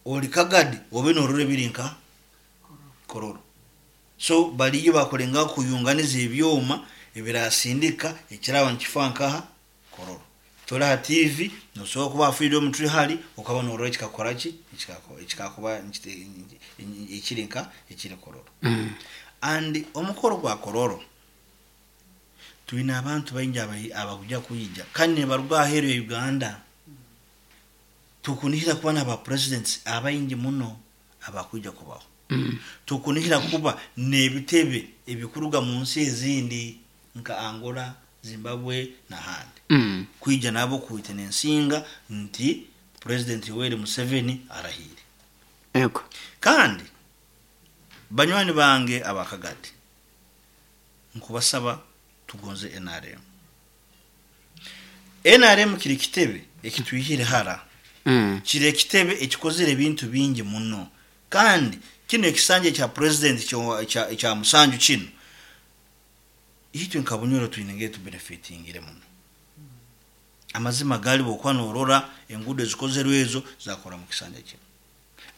Oli Kagadi obe norora ebiri nka Kololo. So baliyo bakulengaho kuyunganiza ebyoma ebirasindika ekiraba nikifa nkaha Kololo. Toli ha TV, nosobora kuba ha Freedom Tree hali okaba norora ekikakora ki, ekikakuba ekiri nka ekiri Kololo. And omukoro gwa Kololo, twine abantu baingi abakuja kwija kandi nibaruga aheeru ya Uganda. Tukunihira kuba n'aba presidents abaingi muno abakwija kubaho. Tukunihira kuba n'ebitebe ebikuruga mu nsi ezindi nka Angola, Zimbabwe n'ahandi. Kwija nabo kwita n'ensinga nti President Yoweri Museveni arahiire. Kandi banywani bange aba Kagadi, nkubasaba tugonze NRM. NRM kiri kitebe ekitwihire hara. Kiri ekitebe ekikozere ebintu bingi muno. Kandi kinu ekisanja ekya president ekya 7 kinu, itwe nka Bunyoro twine ngeri tubenefitingire muno. Amazima gali bwokuba norora enguudo ezikozerwe ezo zakora mu kisanja kinu.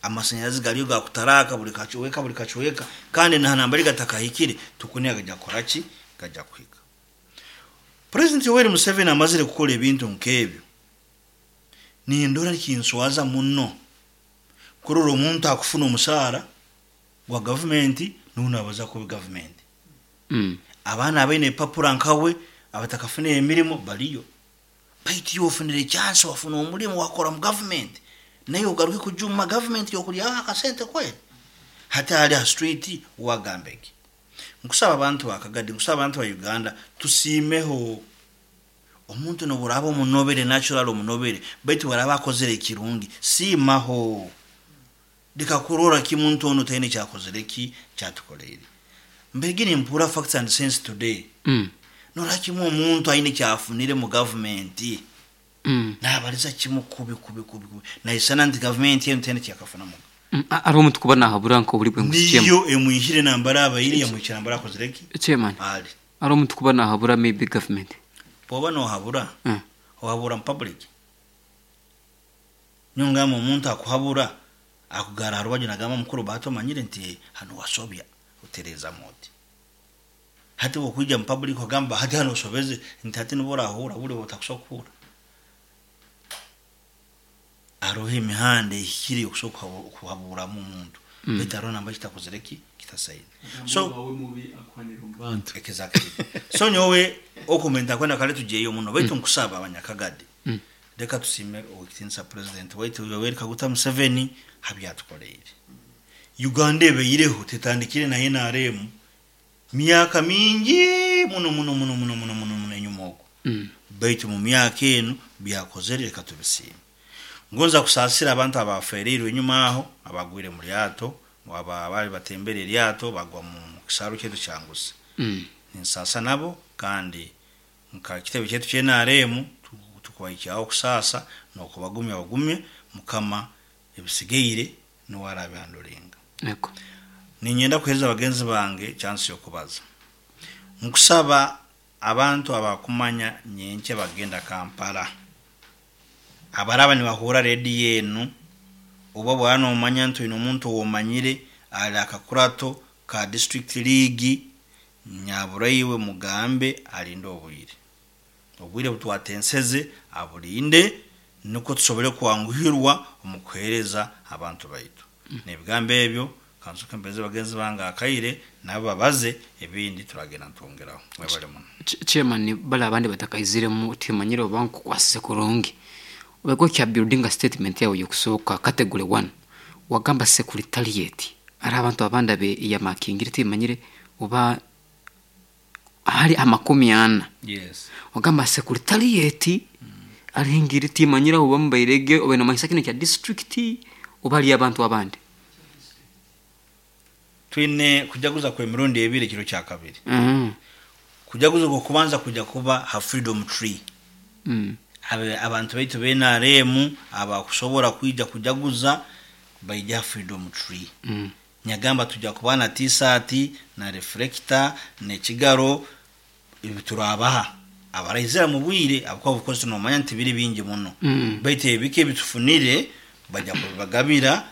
Amasanyarazi galiyo gakutaraka buli kacweka buli kacweka, kandi na nambari gatakahikire tukuniga gajja kukora ki? Gajja kuhika. President Yoweri Museveni amazire kukora ebintu nk'ebyo, nindora nikinswaza muno kurora omuntu akufuna omusaara gwa gavumenti nuwe nabaza kubi gavumenti. Abaana abaine ebipapura nkawe abatakafuna emirimo baliyo. Baitu iwe ofunire chance, wafuna omulimo, wakora mu gavumenti, naye ogaruke kujuma gavumenti yokulyaho akasente kweli? Hati hali ha street wagamba eki. Nkusaba abantu ba Kagadi, nkusaba abantu ba Uganda, tusiimeho omuntu noburaba omunobere natural omunobere, baitu baraba akozere ekirungi, siimaho. Leka kurora ki muntu ono taine kyakozere ki kyatukoleire. Mbegi nimpura facts and sense today. Nora kimu omuntu aine kyafunire mu gavumenti. Nabaliza kimu kubi kubi kubi kubi. Naisana nti gavumenti eno taine kyakafunamu. Ari omuntu kuba nahabura nka oburi bwe ngu Niyo emwihire nambara abaire yamwikira nambara akozere ki? Chairman. Ali. Ari omuntu kuba nahabura maybe government. Bwoba nohabura, ohabura mu public. Nyongamba omuntu akuhabura akugara ha rubaju nagamba mukuru bato omanyire nti hano wasobya otereza moti. Hati bwokwija mu public ogamba hati hano osobeze nti hati nibo orahura buli otakusobola kuhura. Hariho emihanda ehikire yokusobola kuhaburamu omuntu. Baitu hariho namba kitakozere ki kitasaine. So exactly. So nyowe okumenta kwenda kale tujeyo muno baitu nkusaba abanyakagadi. Leka tusime owekitinisa president waitu Yoweri Kaguta Museveni habyatukoleire. Uganda ebeireho tetandikire na NRM myaka mingi muno muno muno muno muno muno muno enyuma okwo. Baitu mu myaka enu byakozere leka tubisiime. Ngonza kusaasira abantu abafereirwe enyuma aho abagwire mu lyato, aba bali batembere eryato bagwa mu kisaaru kyaitu kyangusi. Ninsaasa nabo kandi nka kitebe kyaitu kya NRM tukubahikyaho kusaasa n'okubagumya bagumye Mukama ebisigaire niwe arabihandulinga. Ninyenda kuheereza bagenzi bange chance y'okubaza. Nkusaba abantu abakumanya nyenkya bagenda Kampala. Abaraba nibahura rediyo enu oba bwaba nomanya nti oine omuntu owomanyire ali akakurato ka district league nyaburaiwe mugambe alinde obwire. Obwire butwatenseze abulinde nukwo tusobole kwanguhirwa omu kuheereza abantu baitu. N'ebigambo ebyo kansoke mpereze bagenzi bange akaire nabo babaze ebindi turagenda nitwongeraho. Mwebale muno. Chairman, bali abandi batakaiziremu timanyire oba nkukwasize kurungi. Obeko kya building statement yawe yokusooka category 1 wagamba secretariat ari abantu abandi abe yamakingire timanyire oba hali 40. Wagamba secretariat alihingire timanyire oba mubairege oba nomanyisa kino kya district oba ali abantu abandi. Twine kujaguza kwa emirundi ebiri ekiro kya kabiri. Kujaguza okwo kubanza kuja kuba ha Freedom Tree. Abantu baitu be NRM abakusobora kwija kujaguza baija ha Freedom Tree. Nyagamba tuja kuba na t-shirt na reflector n'ekigaro ebi turabaha abaraizira mu bwire abakuba bukozi tunomanya nti biri bingi muno. Baitu ebiki ebitufunire bajja kubibagabira.